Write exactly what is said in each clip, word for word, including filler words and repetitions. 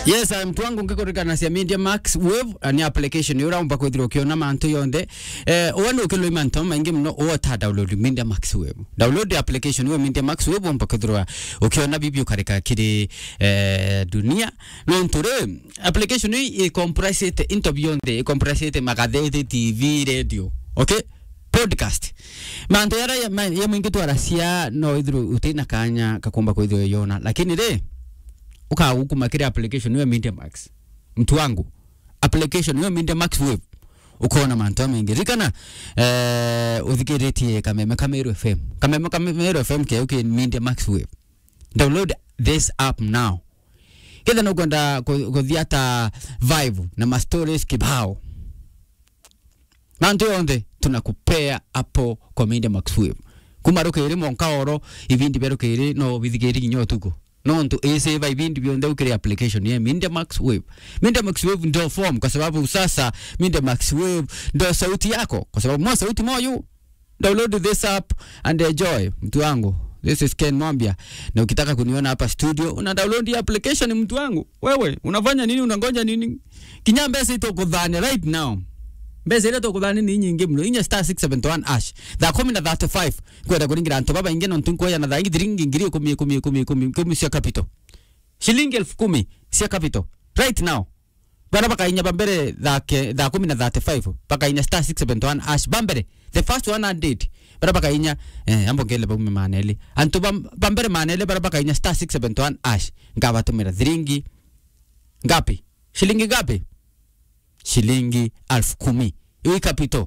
Yes, mtu wangu, ngikurikana cia Media Max Wave, eh, ni application ira umba kwithirwa ukiona mantu yonthe. Eh, uwe ni ukiloi mantu maingi muno, uwe ta download Media Max Wave. Download application iwe Media Max Wave, umba kwithirwa ukiona bibi ukarika kiri, eh, dunia. Nontu ri, application ii i comprise-ite into bionthe, i comprise-ite magatheti, T V, radio. Okay? Podcast. Mantu yara ya, ma-, ya maingi twaracia no ithirwe utina kanya kakumba kwithirwa yona. Lakini ri, ukagukuma kiri application iwe Media Max. Mtu wangu, application iwe Media Max Wave. Ukona mantu jamaingi. Rikana, eh, uthikiritie kameme ka Meru F M. Kameme ka Meru F M keu ki Media Max Wave. Download this app now. Ketha nukwenda ku-, kuthia ta vibe na ma stories kibao. Mantu yonthe tunakupea hapo kwa Media Max Wave. Kuma rukiri mwanka oro, ibindi bia rukiri no bithikiri kinya utuku. Nontu isave ibindi bionthe ukiri application ya Media Max Wave. Media Max Wave ndio form, kwa sababu sasa Media Max Wave ndio sauti yako, kwa sababu mo sauti moyo. Download this app and enjoy, mtu wangu. This is Ken Mwambia. Na ukitaka kuniona hapa studio, una download hii application, mtu wangu. Wewe, unafanya nini? Unangoja nini? Kinya mbeca itukuthania right now. Mbeca iria tukuthania ni nyingi muno. Inya star six seven one hash. Thaa kumi na thirty-five. Kwenda kuringira antu babaingi, nontu nkuoya na thaa ingi thiringi ngiri ikumi, ikumi, ikumi, ikumi, ikumi cia capital. Shilingi elfu kumi cia capital. Right now. Bara bakainya bambere thaa ke-, thaa kumi na thirty-five, bakainya star six seven one hash bambere. The first one hundred. Bara bakainya, eh, ambo ngele baume maneli. Antu bam-, bambere maneli bara bakainya star six seven one hash. Ngabatumira thiringi ngapi? Shilingi ngapi? Shilingi elfu kumi. Ii capital.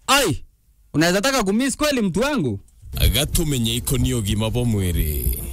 Ai! Unaweza taka kumiss kweli, mtu wangu? Gatumenye ikoni ugima bwa mwiri.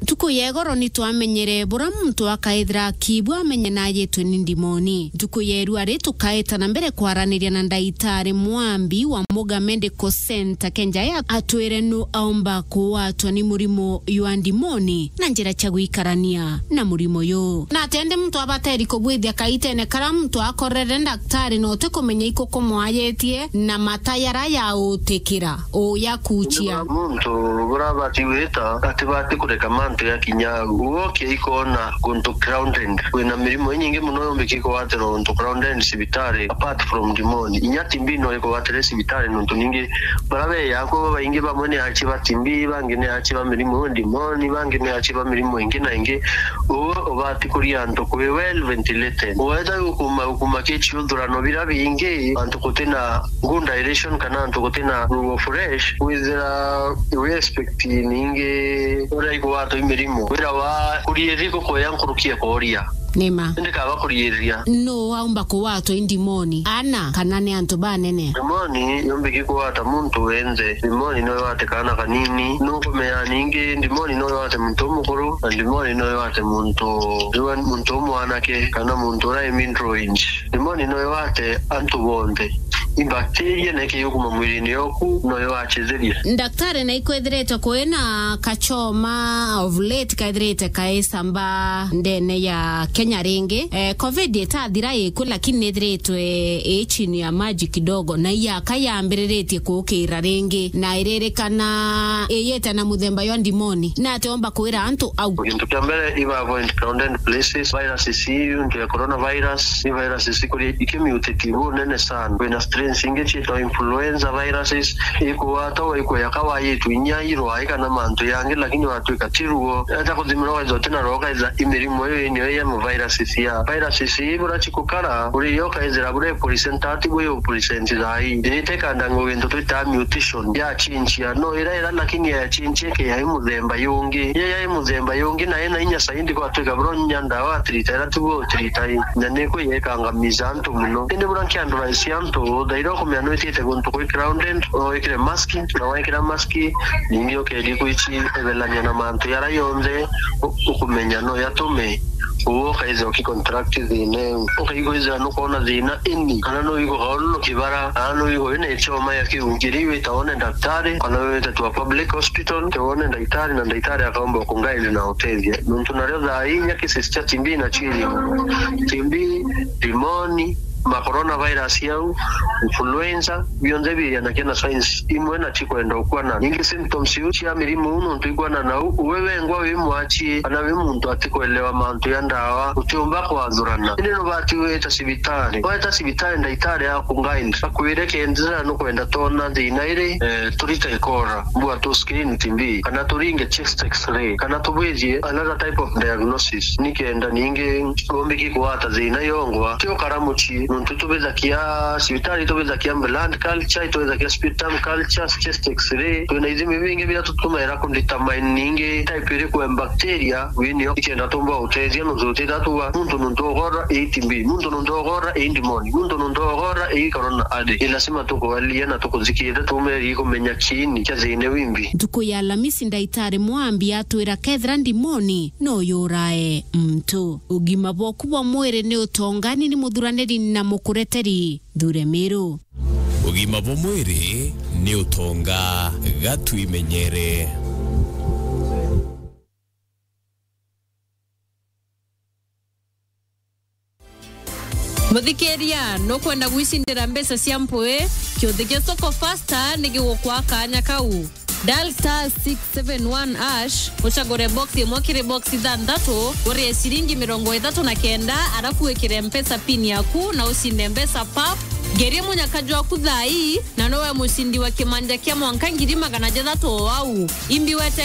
Ntuku ya igoro ni twamenyere bura muntu akaithira akibua amenye na ayitwe ni ndimoni. Ntuku ya irua ri tukaeta na mbere kwaraniria na ndaitari Mwambi wa Muga Medical Center, kenja ya atwire nu aumba kuwatwa ni murimo jwa ndimoni na njira cia gwikarania na murimo yu. Na atende muntu abateri kubwithia kaitene kara muntu akorere ndaktari na utikumenya ikukumwayitie na mata yara ya utikira uya kuchia. Muntu burabati gwita atibati kureka mantu ya kinya au. Uwe ukiaikona guntu crowded. Kwina mirimo inyingi muno yombiki kugwatirwa guntu crowded cibitari, apart from ndimoni. Inya T B no ikugwatire cibitari nontu ningi bara beya akwo babaingi bamwe ni achi ba T B, bangi ni achi ba mirimo ya ndimoni, bangi ni achi ba mirimo ingi na ingi. Uwe ubati kuria antu kwi well ventilated. Uweta gukuma, gukuma kichiuthurano bira bingi, antu gutina good dilution kana antu gutina ruo fresh, withira we expect ningi uria igwatwa i mirimo. Wira wa kurieri gukuya nkuruki ya kuria. Nima. Indi kaba kuriiriria. Nu aumba kuwatwa i ndimoni? Ana kana ni antu banene? Ndimoni yombiki kuwata muntu wenthe. Ndimoni no iwate kaana kanini. Nukumenya ningi, ndimoni no iwate muntu umukuru, na ndimoni no iwate muntu, iwe muntu umwanake, kana muntu uria i middle age. Ndimoni no iwate antu bonthe. I bacteria na ikiyukuma mwilini yoku, no iwachithirie. Ndaktari, na ikwithiritwe kwina kachoma of late kaithirite kaisamba ndene ya Kenya ringi. Eh, covid itathira iku, lakini nithiritwe i chini ya maji kidogo, na iyaka yambiriritie kuukira ringi, na iririkana iyite na muthemba jwa ndimoni. Na atiomba kwira antu au. Gintu kia mbere, iba avoid crowded places. Viruses iu, ntu ya coronavirus, i viruses ikuria ikimutate bunene sana. Kwina strains ingi ciitwa influenza viruses, ikugwatagwa ikuya kawayitu inya irwai kana mantu yangi, lakini watwika ti ruo. Eta kuthimirwa wethwa utina ruo, ukaitha i mirimo iu niyo ya mu viruses ya. Viruses ii bura cikukara, uri yo ukaithira bura i present ati bwi u present thaa ii. Ni itekanda ngo gintu twita mutation ya chinchia. No ira ira lakini ya chinchia ke yai muthemba yungi. Ye yai muthemba yungi na ina inya saindi gwatwika bura nya ndawa atirita ira tugo utirita ii. Na ni kwi yekangamiza antu muno. Indi bura nkianduraisia antu, thaira ukumenya nwitite guntu kwi crowded, no wikire mask, na wekira mask, ningi ukeri kwichi ebelania na mantu yara yonthe u-, ukumenya no yatume uwe ukaithira ukicontract thina iu. Ukaigua ithira nukwona thina ini, kana nuigua kaururu kibara, kana nuigua wina ichoma ya kiu, ngiri wita wone ndaktari, kana wite to a public hospital, ke wone ndaitari, na ndaitari akaomba kuguide na utethia. Nontu nario thaa inya cases cia T B na chiri. T B, ndimoni, ma coronavirus yau, influenza, bionthe biria na kena signs imwe na tikwenda ukwana. Ningi symptoms iu cia mirimu uu nontu ikwana nau, uwe wengwa wi mwachie kana wi muntu atikwelewa mantu ya ndawa, utiumba kwathurana. Indi nubati wita cibitari. Weta cibitari, ndaitari aku guide akwire kenda nukwenda tona thina iri, eh, turite ikora, mbua tu screen T B, kana turinge chest X-ray, kana tubwithie another type of diagnosis, nikenda ningi umbiki kugwata thina yongwa. Ti ukara mucii, nontu itubithakia cibitari, itubithakia blood culture, itubithakia sputum culture, chest X-ray. Twina ithimi bingi biria tutumaira ku determine ningi type iriku ya bacteria winio, ikenda tumba utethia nontu tutitha tuga muntu nontu ogora ii T B, muntu nontu ogora ii ndimoni, muntu nontu ogora ii corona. Adi, ni lazima tukualia na tukuthikiria, tumerie kumenya kiini kia thina wimbi. Ntuku ya Alamisi, ndaitari Mwambi atwira kethira ndimoni no yurae muntu. Ugima bwaku bwa mwiri ni utonga. Ni ni muthuraniri na mukureteri Thure Miru. Ugima bwa mwiri ni utonga, gatwimenyere. Muthikiria, nukwenda gwicindira mbeca cia mpui? Kiuthi kia Soko Fasta ni gigukwa kaanya kau. Dial star six seven one hash, ucagure box imwe kiri box ithanthatu, urie ciringi mirongo ithatu na kenda, arafu wikire Mpesa pin yaku na ucinde mbeca pap. Ngerie munyaka jwaku thaa ii, na nowe mucindi wa kimanja kia mwanka ngiri magana jathatu o au. Imbi wete